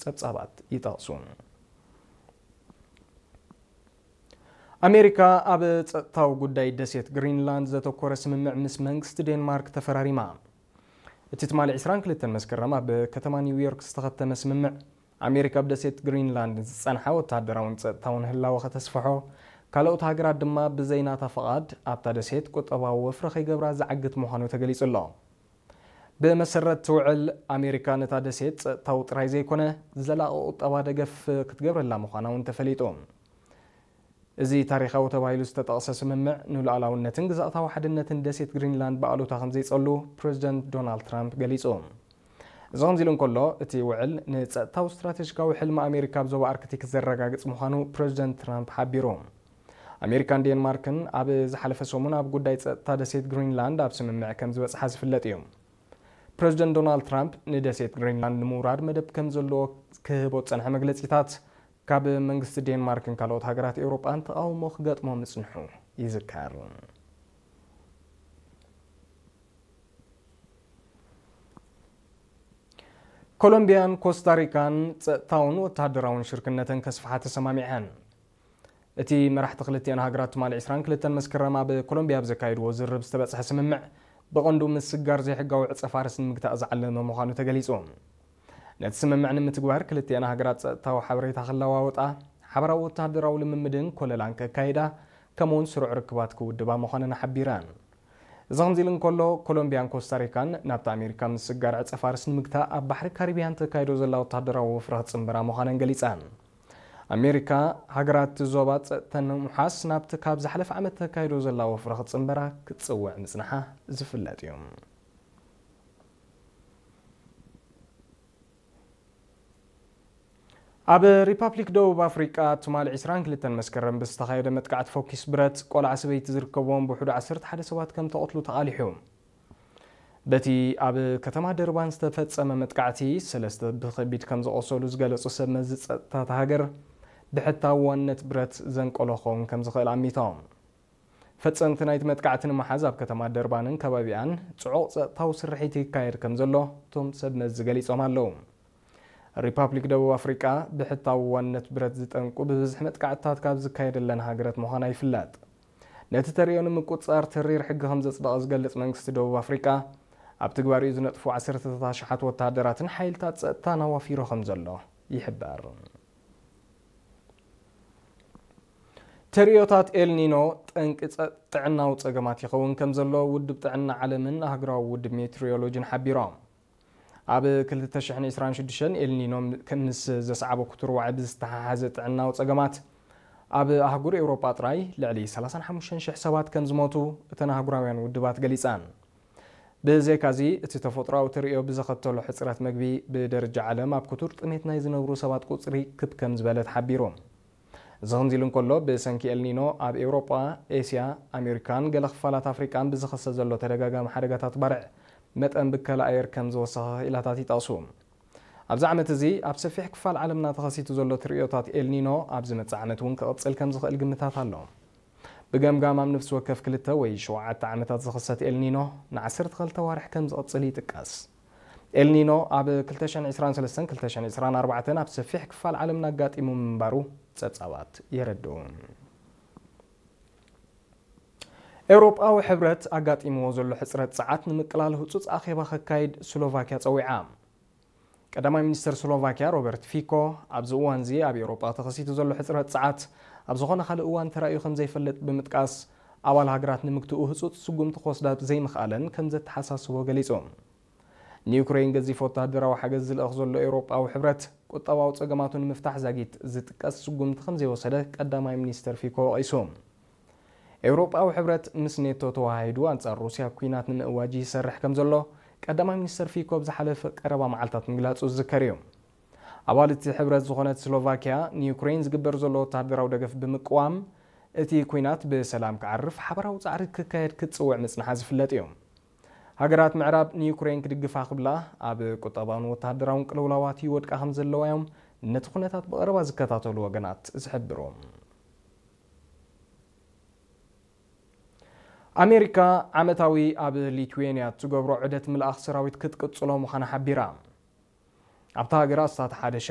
ጸብጻባት ይጠቕሱ። ኣሜሪካ ኣብ ጸጥታዊ ጉዳይ ደሴት ግሪንላንድ ዘተኮረ ስምምዕ ምስ መንግስቲ ዴንማርክ ተፈራሪማ። እቲ ትማሊ ዕስራን ክልተን መስከረም ኣብ ከተማ ኒውዮርክ ዝተኸተመ ስምምዕ፣ ኣሜሪካ ኣብ ደሴት ግሪንላንድ ዝጸንሓ ወተሃደራውን ጸጥታውን ህላወ ከተስፍሖ፣ ካልኦት ሃገራት ድማ ብዘይናታ ፍቓድ ኣብታ ደሴት ቁጠባዊ ወፍሪ ከይገብራ ዝዓግት ምዃኑ ተገሊጹ ኣሎ። ብመሰረት እቲ ውዕል፣ ኣሜሪካ ነታ ደሴት ጸጥታዊ ጥራይ ዘይኮነ፣ ዘላቒ ቁጠባ ደገፍ ክትገብረላ ምዃና እውን ተፈሊጡ። እዚ ታሪኻዊ ተባሂሉ ዝተጠቕሰ ስምምዕ፣ ንሉዓላውነትን ግዝኣታዊ ሓድነትን ደሴት ግሪንላንድ ብኣሉታ ከም ዘይጸሉ ፕረዚደንት ዶናልድ ትራምፕ ገሊጹ። እዚ ከምዚ ኢሉ እንከሎ፣ እቲ ውዕል ንጸጥታዊ ስትራቴጂካዊ ሕልሚ ኣሜሪካ ኣብ ዞባ ኣርክቲክ ዘረጋግጽ ምዃኑ ፕረዚደንት ትራምፕ ሓቢሩ። ኣሜሪካን ዴንማርክን ኣብ ዝሓለፈ ሰሙን ኣብ ጉዳይ ጸጥታ ደሴት ግሪንላንድ ኣብ ስምምዕ ከም ዝበጽሓ ዝፍለጥ እዩ። ፕረዚደንት ዶናልድ ትራምፕ ንደሴት ግሪንላንድ ንምውራድ መደብ ከም ዘለዎ ክህቦ ዝጸንሐ መግለጺታት፣ ካብ መንግስቲ ዴንማርክን ካልኦት ሃገራት ኤውሮጳን ተቓውሞ ክገጥሞ ምጽንሑ ይዝከር። ኮሎምቢያን ኮስታሪካን ጸጥታውን ወተሃደራውን ሽርክነተን ከስፍሓ ተሰማሚዐን። እቲ መራሕቲ ክልቲአን ሃገራት ትማሊ ዕስራን ክልተን መስከረም ኣብ ኮሎምቢያ ኣብ ዘካየድዎ ዝርርብ ዝተበጽሐ ስምምዕ፣ ብቐንዱ ምስጋር ዘይሕጋዊ ዕጸ ፋርስ ንምግታእ ዝዓለመ ምዃኑ ተገሊጹ። ነቲ ስምምዕ ንምትግባር ክልቲአን ሃገራት ጸጥታዊ ሓበሬታ ክለዋወጣ፣ ሓበራዊ ወተሃደራዊ ልምምድን ኮለላን ከካይዳ፣ ከምኡውን ስሩዕ ርክባት ክውድባ ምዃነን ሓቢረን። እዚ ከምዚ ኢሉ እንከሎ፣ ኮሎምቢያን ኮስታሪካን ናብቲ ኣሜሪካ ምስጋር ዕጸ ፋርስ ንምግታእ ኣብ ባሕሪ ካሪብያን ተካይዶ ዘላ ወተሃደራዊ ወፍሪ ክጽንበራ ምዃነን ገሊጸን። ኣሜሪካ፣ ሃገራት ዞባ ጸጥተን ንምውሓስ ናብቲ ካብ ዝሓለፈ ዓመት ተካይዶ ዘላ ወፍሪ ክጽንበራ ክትጽውዕ ምጽንሓ ዝፍለጥ እዩ። ኣብ ሪፓብሊክ ደቡብ ኣፍሪቃ ትማሊ ዕስራን ክልተን መስከረም ብዝተኻየደ መጥቃዕቲ ፎኪስ ብረት፣ ቆልዓ ሰበይቲ ዝርከብዎም ብውሕዱ ዓሰርተ ሓደ ሰባት ከም ተቐትሉ ተቓሊሑ። በቲ ኣብ ከተማ ደርባን ዝተፈጸመ መጥቃዕቲ፣ ሰለስተ ብኸቢድ ከም ዝቖሰሉ ዝገለጹ ሰብ መዚ ጸጥታ እታ ሃገር፣ ብሕታዊ ዋንነት ብረት ዘንቀሎ ክኸውን ከም ዝኽእል ኣሚቶም። ፈጸምቲ ናይቲ መጥቃዕቲ ንምሓዝ ኣብ ከተማ ደርባንን ከባቢኣን ጽዑቕ ጸጥታዊ ስርሒት ይካየድ ከም ዘሎ እቶም ሰብ መዚ ገሊጾም ኣለዉ። ሪፓብሊክ ደቡብ ኣፍሪቃ ብሕታዊ ዋንነት ብረት ዝጠንቁ ብብዝሒ መጥቃዕትታት ካብ ዝካየደለን ሃገራት ምዃና ይፍለጥ። ነቲ ተርእዮ ንምቁጽጻር ተሪር ሕጊ ከም ዘጽደቐ ዝገልጽ መንግስቲ ደቡብ ኣፍሪቃ፣ ኣብ ትግባሪኡ ዝነጥፉ ዓሰርተታት ኣሽሓት ወተሃደራትን ሓይልታት ጸጥታን ኣዋፊሩ ከም ዘሎ ይሕበር። ተርእዮታት ኤልኒኖ ጠንቂ ጸ-፣ ጥዕናዊ ጸገማት ይኸውን ከም ዘሎ ውድብ ጥዕና ዓለምን ኣህጉራዊ ውድብ ሜትሮሎጂን ሓቢሮም። ኣብ ክልተ ሽሕን ዕስራን ሽዱሽተን ኤልኒኖ ምስ ዘስዓቦ ክቱር ዋዒ ብዝተሓሓዘ ጥዕናዊ ጸገማት፣ ኣብ ኣህጉር ኤውሮጳ ጥራይ ልዕሊ ሰላሳን ሓሙሽተን ሽሕ ሰባት ከም ዝሞቱ እተን ኣህጉራውያን ውድባት ገሊጸን። ብዘይካዚ፣ እቲ ተፈጥሮኣዊ ተርእዮ ብዘኸተሎ ሕጽረት መግቢ፣ ብደረጃ ዓለም ኣብ ክቱር ጥሜት ናይ ዝነብሩ ሰባት ቁጽሪ ክብ ከም ዝበለ ተሓቢሩ። እዚ ከምዚ ኢሉ እንከሎ፣ ብሰንኪ ኤልኒኖ ኣብ ኤውሮጳ፣ ኤስያ፣ ኣሜሪካን ገለ ክፋላት ኣፍሪቃን ብዝኸሰ ዘሎ ተደጋጋሚ ሓደጋታት ባርዕ፣ መጠን ብከላ ኣየር ከም ዝወሰኸ ክኢላታት ይጠቕሱ። ኣብዚ ዓመት እዚ ኣብ ሰፊሕ ክፋል ዓለምና ተኸሲቱ ዘሎ ትርእዮታት ኤልኒኖ ኣብ ዝመጽእ ዓመት እውን ክቕጽል ከም ዝኽእል ግምታት ኣሎ። ብገምጋም ኣብ ነፍሲ ወከፍ ክልተ ወይ ሸውዓተ ዓመታት ዝኽሰት ኤልኒኖ ንዓሰርተ ክልተ ኣዋርሕ ከም ዝቕጽል ይጥቀስ። ኤልኒኖ ኣብ ክልተ ሽሕን ዕስራን ሰለስተን ክልተ ሽሕን ዕስራን ኣርባዕተን ኣብ ሰፊሕ ክፋል ዓለምና ኣጋጢሙ ምንባሩ ጸብጻባት የረድኡ። ኤውሮጳዊ ሕብረት ኣጋጢምዎ ዘሎ ሕጽረት ጸዓት ንምቅላል ህጹጽ ኣኼባ ከካይድ ስሎቫክያ ጸዊዓ። ቀዳማይ ሚኒስተር ስሎቫክያ ሮበርት ፊኮ፣ ኣብዚ እዋንዚ ኣብ ኤውሮጳ ተኸሲቱ ዘሎ ሕጽረት ጸዓት ኣብ ዝኾነ ካልእ እዋን ተራእዩ ከም ዘይፈልጥ ብምጥቃስ፣ ኣባል ሃገራት ንምግትኡ ህጹጽ ስጉምቲ ክወስዳ ዘይምኽኣለን ከም ዘተሓሳስቦ ገሊጹ። ንዩክሬን ገዚፍ ወተሃደራዊ ሓገዝ ዝልእኽ ዘሎ ኤውሮጳዊ ሕብረት፣ ቁጠባዊ ጸገማቱ ንምፍታሕ ዛጊት ዝጥቀስ ስጉምቲ ከም ዘይወሰደ ቀዳማይ ሚኒስተር ፊኮ ወቒሱ። ኤውሮጳዊ ሕብረት ምስ ኔቶ ተወሃሂዱ ኣንጻር ሩስያ ኲናት ንምእዋጅ ይሰርሕ ከም ዘሎ ቀዳማይ ሚኒስተር ፊኮ ኣብ ዝሓለፈ ቀረባ መዓልታት ምግላጹ ዝዝከር እዩ። ኣባል እቲ ሕብረት ዝኾነት ስሎቫክያ ንዩክሬን ዝግበር ዘሎ ወተሃደራዊ ደገፍ ብምቅዋም፣ እቲ ኲናት ብሰላም ክዓርፍ ሓባራዊ ጻዕሪ ክካየድ ክትጽውዕ ምጽንሓ ዝፍለጥ እዩ። ሃገራት ምዕራብ ንዩክሬን ክድግፋ ክብላ ኣብ ቁጠባውን ወተሃደራውን ቅልውላዋት ይወድቃ ከም ዘለዋ እዮም ነቲ ኩነታት ብቐረባ ዝከታተሉ ወገናት ዝሕብሩ። ኣሜሪካ ዓመታዊ ኣብ ሊትዌንያ እትገብሮ ዑደት ምልኣኽ ሰራዊት ክትቅጽሎ ምዃና ሓቢራ። ኣብታ ሃገር ኣስታት ሓደ ሽሕ